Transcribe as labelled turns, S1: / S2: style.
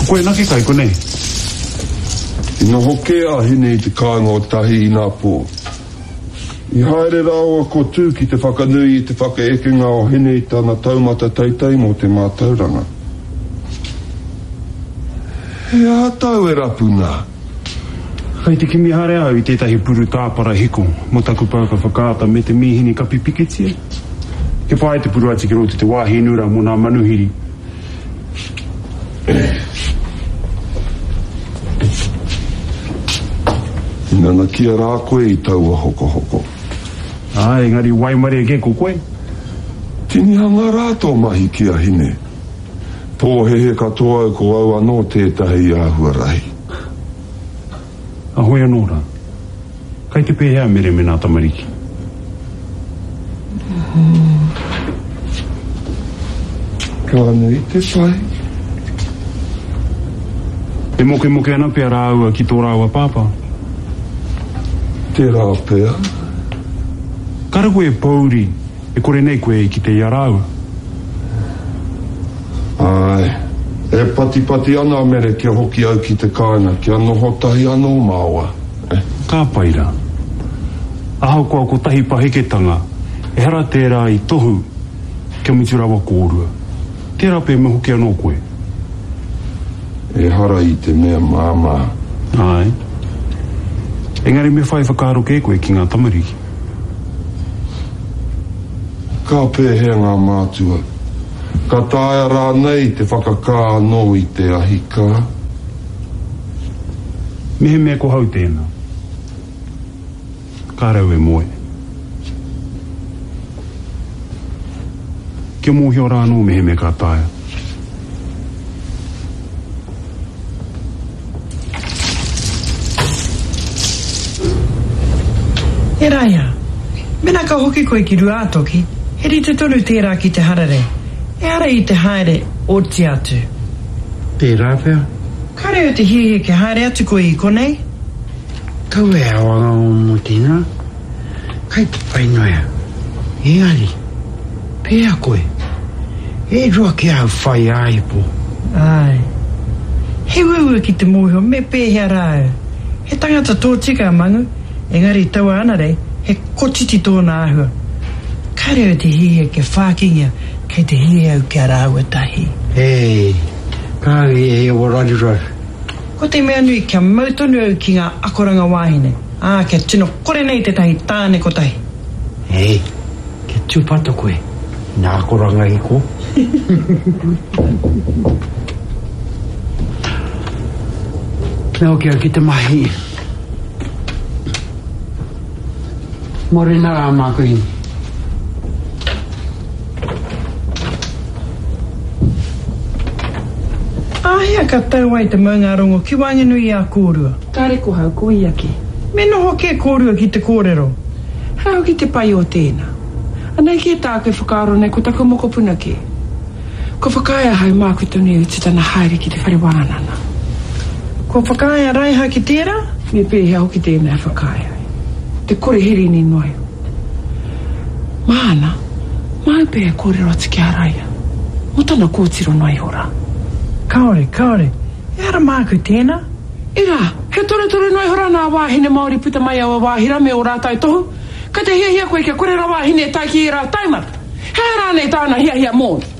S1: Ko koe anake kai konei?
S2: I noho kē a Hine i te kāinga o Tahi inapō. I haere rāua ko Tū ki te whakanui i te whakaekenga o Hine i tana taumata teitei mō te mātauranga. He aha tāu e rapu nā?
S1: Kei te kimi haere au i tētahi puru tāpara hiko mō taku pouaka whakaata me te mīhini kapi pikitia. Kia pai te puru atu ki roto i te wāhi nura mō nā manuhiri.
S2: I nanakia rā koe i taua hokohoko.
S1: Āe, engari waimarie kē ko koe.
S2: Tinihanga rā tō mahi ki a Hine. Pōhēhē katoa au ko au anō tētahi āhua rahi.
S1: Ahoi anō rā. Kai te pēhea a Mere me nā tamariki?
S2: Ka nui te pai.
S1: E mokemoke ana pea rāua ki tō rāua pāpā.
S2: Tērā pea.
S1: Kāre koe e pōuri E kore nei koe e kite i a rāua.
S2: Āe. E patipati ana a Mere kia hoki au ki te kāinga, kia noho tahi anō māua.
S1: Eh. Ka pai rā. Ahakoa kotahi paheketanga, ehara tērā i tohu kia mutu rawa kōrua. Tērā pea me hoki anō koe.
S2: Ehara i te mea māmā.
S1: Āe. Engari me whai whakaaro kē koe ki ngā tamariki.
S2: Ka pēhea ngā mātua? Ka taea rānei te whakakā anō i te ahi kā?
S1: Mehemea ko hau tēnā, kāre au e moe. Kia mōhio rā anō mehemea ka taea.
S3: E Raia, mena ka hoki koe ki Ruātoki, he rite tonu tērā ki te hararei, ehara i te haere oti atu.
S4: Tērā pea.
S3: Kāre au te hiahia kia haere atu koe i konei.
S4: Kaua e awangawa mō tēnā. Kai te pai noa au. Engari, pēhea koe? E rua ki ahau whai āipo.
S3: Āe. He uaua ki te mōhio me pēhea rā au. He tangata tōtika a Mangu, engari taua anarei, he kotiti tōna āhua. Kāre au te hiahia kia whākingia, kei te hiahia au kia rāua tahi.
S4: Hei, kāore e hiahia raruraru.
S3: Ko te mea nui kia mau tonu au ki ngā akoranga wāhine, ā, kia tino kore nei tētahi tāne kotahi.
S4: Hei, kia tūpato koe, ina akoranga i kō. Me hoki au ki te mahi. Morena rā māku hine.
S3: Āhea ka tau ai te maungārongo ki waenganui i a kōrua?
S5: Kāre ko hau, ko ia kē.
S3: Me noho kē kōrua ki te kōrero.
S5: He aha hoki te pai o tēnā? Anei kē tāku e whakaaro nei ko taku mokopuna kē. Kua whakaae ahau māku tonu e utu tana haere ki te whare wānanga.
S3: Kua whakaae a Raiha ki tērā?
S5: Me pēhea hoki tēnā e whakaae ai? Te kore herini noa iho. Māna, māu pea e kōrero atu ki a Raia, mō tana kōtiro noa iho rā.
S3: Kāore, kāore, ehara māku tēnā.
S5: Irā, he torutoru noa iho rā nā wāhine Māori puta mai aua wāhi rā me ō rātou tohu. Kei te hiahia koe kia kore rawa a Hine e tae ki ērā taumata. He aha rānei tāna hiahia mōna?